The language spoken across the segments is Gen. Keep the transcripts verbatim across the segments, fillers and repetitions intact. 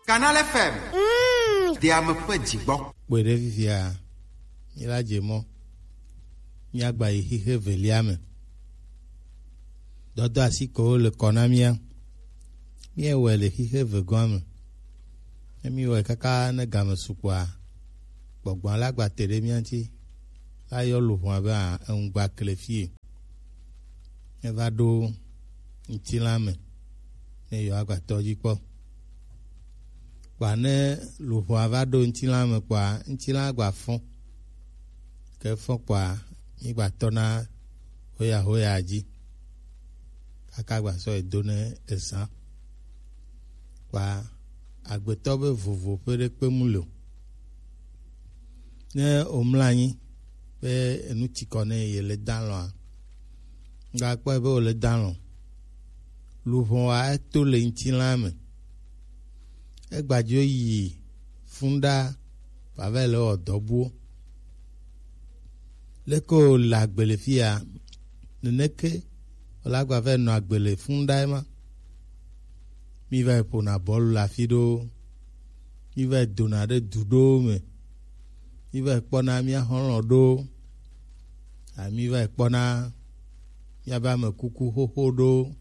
Canal F M. Mm. De ame ƒe dzigbɔ. Kpɔe ɖe fifia, míla dze mɔ. Míagba yi xixe velia me. Dɔdɔ asi ko le kɔ na mía. Míewɔe le xixe vegɔa me. Ne míewɔe kaka ne game sukpɔa, gbɔgbɔ la gba te ɖe mía ŋuti. La yɔ luʋɔ abe a, eŋugba kle fie. Eva ɖo ŋutilã me ne yewoagba tɔ dzi kpɔ. Kpɔa ne luʋɔa va ɖo ŋutilã me kpɔa, ŋutilã gba fɔ. Ke fɔ kpɔa, mígba tɔna hoya hoya dzi. Kaka gba sɔ yi do ne ezã. Kpɔa, agbetɔ be vovo ƒe ɖekpe mu le o. Ne womlɔ anyi be enu tsi kɔ ne yele dalɔa, ŋgakpɔe be wòle dalɔ. Luʋɔa eto le ŋutilã me. Egbadzo yi fun ɖa vava le wɔ dɔ buwo. Leke wòle agbe le fia, neneke wòle agba va nɔ agbe le fun ɖa ema. Mí va yi ƒona bɔlu le afi ɖewo. Mí va yi dona ɖe du ɖewo me. Mí va yi kpɔna mía xɔlɔ̃ ɖewo. A, mí va yi kpɔna míabe ame kuku xoxo ɖewo.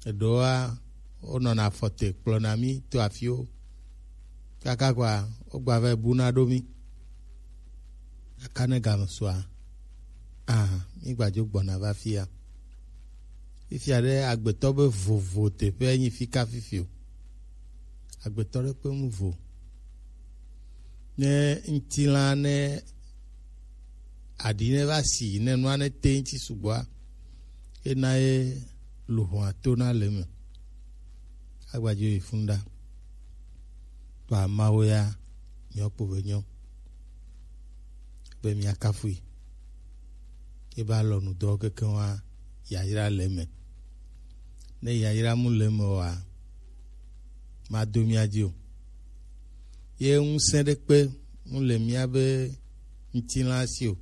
Eɖewoa, wonɔna afɔ te kplɔna mí to afiwo. Kaka kɔa, wogba va yi buna ɖo mí. Kaka ne game sua, a, mígbadzo gbɔna va fia. Fifia ɖe agbetɔ be vovo teƒe nyi fika fifi o. Agbetɔ ɖe ƒe nu vo. Ne ŋutilã ne aɖi ne va si ne nua ne te ŋuti sugbɔa, ena ye luʋɔa tona le eme. Agbadzo yi fun ɖa. Kpɔa Mawu ya nyɔ kpo be nyɔ. Be mía kafui. Ebe alɔnudɔ kekeŋ wa yayra le eme. Ne yayra mu le eme oa, mado mía dzi o. Ye ŋusẽ ɖekpe mu le míabe ŋutilã si o.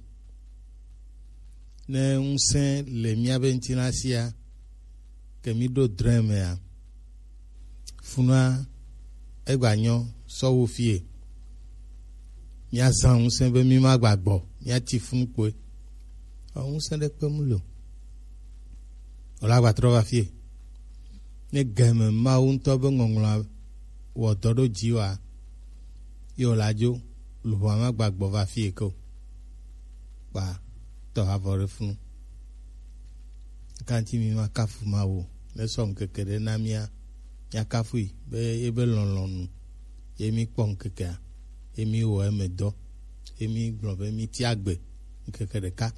Ne ŋusẽ le míabe ŋutilã sia, ke mí ɖo drẽ mea, funua egba nyɔ sɔ wu fie. Míazã ŋusẽ be mí ma gba gbɔ, míati funu kpoe. Ɔ, ŋusẽ ɖekpe mu le o. Wòle agba trɔ va fie. Ne game Mawu ŋutɔ be ŋɔŋlɔa wɔ dɔ ɖo dzi wa, ye wòle adzo, luʋɔa ma gba gbɔ va fie ke o. Kpa tɔ avɔ ɖe funu. Kanti mi ma kafu Mawu, ne sɔ ŋkeke ɖe na mía, mía kafui be ebe lɔlɔ̃nu ye mi kpɔ ŋkekea, ye mi wɔ eme dɔ, ye mi gblɔ be mi tia gbe ŋkeke ɖeka.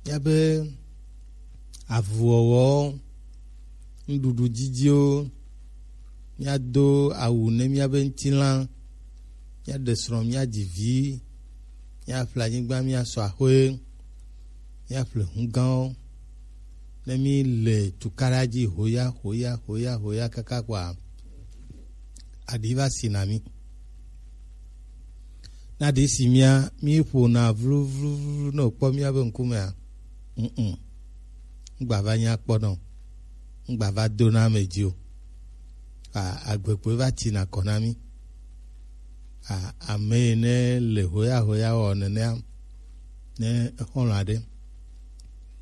Míabe avuwɔwɔ, nuɖuɖu didiwo, míado awu ne míabe ŋutilã, míaɖe srɔ̃, míadzi vi, míaƒle anyigba, míasɔ axɔe, míaƒle hugãwo. Ne míle tukaɖa dzi hoya, hoya, hoya, hoya kaka kɔa, aɖi va si na mí. Ne aɖi si mía, míƒona vluvluvlu ne wòkpɔ míabe ŋkumea, mm, mm. Ŋgba va nya kpɔ nɔ, ŋgba va do na ame dzi o. A, agbekpoe va tina kɔ na mí. A, ame yi ne le hoya hoya wɔ nenea, ne exɔlɔ̃ aɖe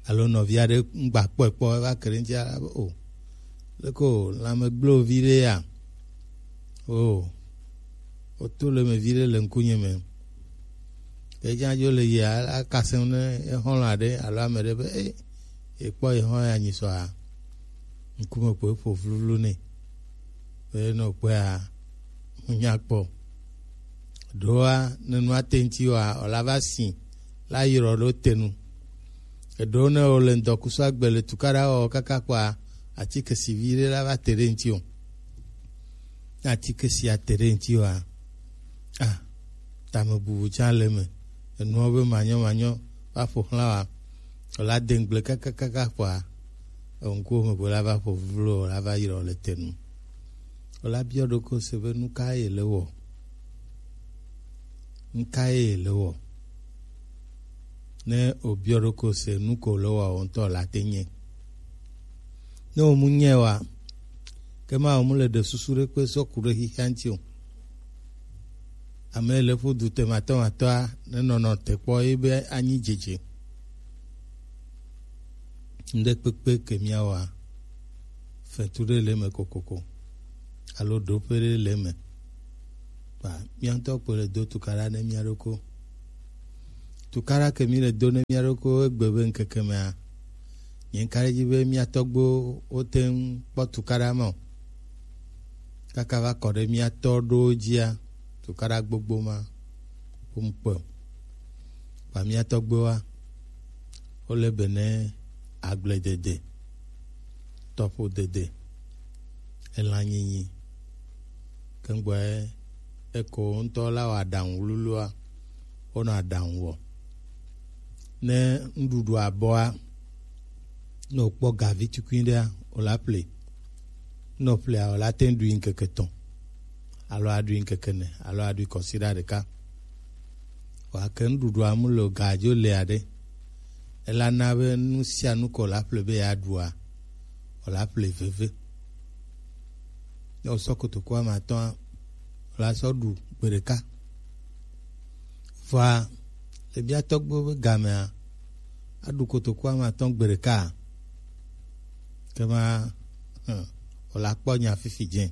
alo nɔvi aɖe ŋgba kpɔe kpɔ, eva ke ɖe ŋuti abe o, leke o, lãme gblẽ vi ɖe ya? O, woto le me vi ɖe le ŋkunye me. Ke dza dzo le yi a-, akasẽ ne exɔlɔ̃ aɖe alo ame ɖe be, e, ekpɔ exɔ ya nyi sɔa, ŋkume ko eƒo vluvlu nɛ. Be ne wòkpɔea, ŋunya kpɔ. Ɖoa, ne nua te ŋuti oa, wòla va si, la yrɔ ɖo te nu. Eɖewo ne wòle ŋdɔkusu agbe le tukaɖa wɔ kaka kpɔa, atike si vi ɖe la va te ɖe ŋuti o. Ne atike sia te ɖe ŋuti oa, a, tamebubu tsã le eme. Enuawo be manyɔ manyɔ va ƒo xlã wa. Wòla de ŋgble kakakaka kpɔa, eŋkuwo me ko la va ƒo vlo, wòla va yrɔ le te nu. Wòla biɔ ɖokui se be nu ka ye le wɔ? Nu ka ye le wɔ? Ne wòbiɔ ɖokui se nu ko le wɔ, wò ŋutɔ la te nye. Ne wòmu nye wa, Ke ma mu le ɖe susu ɖe kpe sɔ ku ɖe xixia ŋuti o. Ame le ƒu du te matɔ matɔa ne nɔnɔ te kpɔ ye be anyi dzedze. Ŋɖe kpekpe ke míawɔa, fetu ɖe le eme kokoko alo ɖoƒe ɖe le eme. Kpa mía ŋutɔ kpo le do tukaɖa ne mía ɖokui. Tukaɖa ke mi le do ne mía ɖokui egbe be ŋkeke mea, nye ŋka ɖe edzi be mía tɔgbuiwo wote ŋu kpɔ tukaɖa ma o. Kaka va kɔ ɖe mía tɔ ɖowo dzia, tukaɖa gbogbo ma wo ŋu kpɔe o. Kpa mía tɔgbuiwoa, wole be ne agbledede, tɔƒodede, elãnyinyi. Ke ŋgbɔe eko ŋutɔ la wɔ aɖaŋu wluwlua, wonɔ aɖaŋu wɔ. Ne nuɖuɖua bɔa, ne wòkpɔ gavi tukui ɖea, wòla ƒle. Ne wòƒlea, wòla te ŋu ɖui ŋkeke etɔ̃, alo aɖui ŋkeke ene, alo aɖui kɔsiɖa ɖeka. Vɔa ke nuɖuɖua mu le o, ga dzo le aɖe, ela na be nu sia nu ko wòla ƒle be yeaɖua, wòla ƒle veve. Ne wòsɔ kotoku ame atɔ̃a, wòla sɔ ɖu gbe ɖeka. Vɔa le mía tɔgbuiwo be gamea, aɖu kotoku ame atɔ̃ gbe ɖeka, ke ma, hmm, wòla kpɔ nya fifi dze.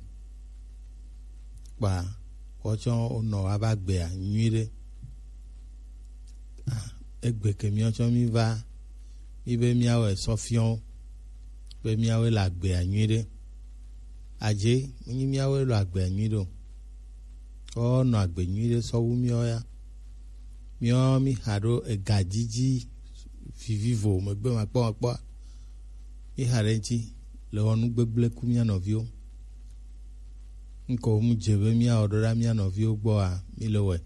Kpa wotsɔ wonɔ wa va gbea nyuiɖe. Ah, egbe ke míawo tsɔ mí va, mí be míawɔe sɔ fiɔ wo, be míawoe le agbea nyuiɖe. Adze, menyi míawoe le agbea nyuiɖe o. Wonɔ agbe nyuiɖe sɔ wu míawo ya. Míawo mí xa ɖo ega dzidzi vivivo megbe makpɔmakpɔa, mí xa ɖe ŋuti le wɔ nu gbegblẽ ku mía nɔviwo. Ŋkɔ mu dze be míawɔ ɖo ɖa mía nɔviwo gbɔa, mí le wɔe.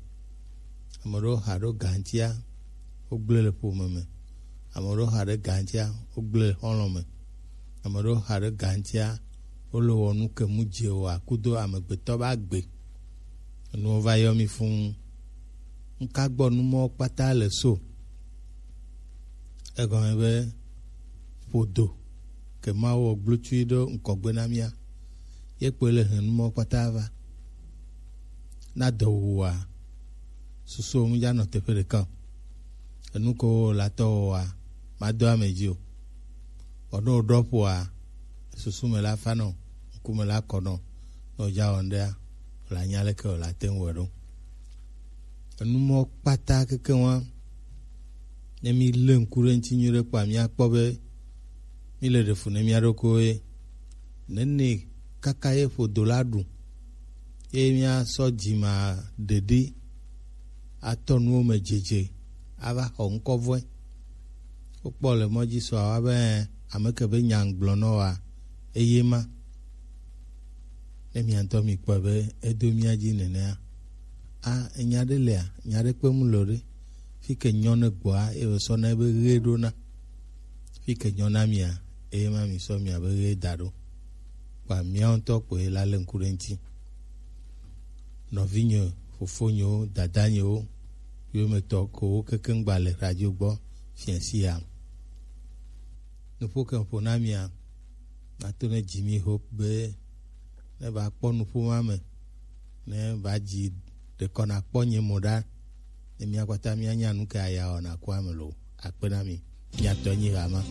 Ame ɖewo xa ɖo ga ŋutia, wogblẽ le ƒome me. Ame ɖewo xa ɖe ga ŋutia, wogblẽ le xɔlɔ̃ me. Ame ɖewo xa ɖe ga ŋutia, wole wɔ nu ke mu dze o akudo amegbetɔ be agbe. Enuwo va yɔ mí fũu. Ŋka gbɔ nu mɔwo kpata le so? Egɔme be ƒodo ke Mawu wɔ gblotui ɖo ŋkɔgbe na mía, ye kpoe le hɛn nu mɔwo kpata va. Na dɔ wuwòa, susuwo mu dza nɔ teƒe ɖeka o. Enu ko wowɔ la tɔ wɔa, madɔ ame dzi o. Vɔ ne wòɖɔ ƒoa, susu me la fa nɔ, ŋkume la kɔ nɔ, ne wòdza wɔ ŋɖea, wòla nya leke wòla te ŋu wɔ ɖo. Enu mɔ kpata keke wa, ne mi lé ŋku ɖe ŋuti nyuie ɖe kpoa, míakpɔ be míle ɖe fu ne mía ɖokuiwo ye. Nene kaka ye ƒodo la ɖu, ye míasɔ dzima ɖeɖi atɔ nuwo me dzedze ava xɔ ŋkɔ vɔe. Wokpɔ le mɔ dzi sɔ awa be ame ke be nya ŋgblɔ nɔ wa eye ma. Ne mia ŋutɔ mi kpɔe be edo mía dzi nenea, a, enya ɖe lea, nya ɖe kpe mu le o ɖe. Fi ke nyɔ ne gbɔa, eye wòsɔ na ebe ɣe ɖo na. Fi ke nyɔ na mia, eye ma mi sɔ mia be ɣe da ɖo. Kpa mía ŋutɔ kpoe la lé ŋku ɖe ŋuti. Nɔvinyewo, fofonyewo, dadanyewo, yometɔ kowo kekeŋ gba le radio gbɔ fia sia. Nuƒo ke ƒo na mia, nato ne Jimmy Hope be ne va kpɔ nuƒo ma me, ne va dzi ɖekɔ nakpɔ nye mo ɖa, ne mía kpata mía nya nu ke aya wɔ na ku ame lo. Akpe na mi. Mía tɔ nyi ɣa ma.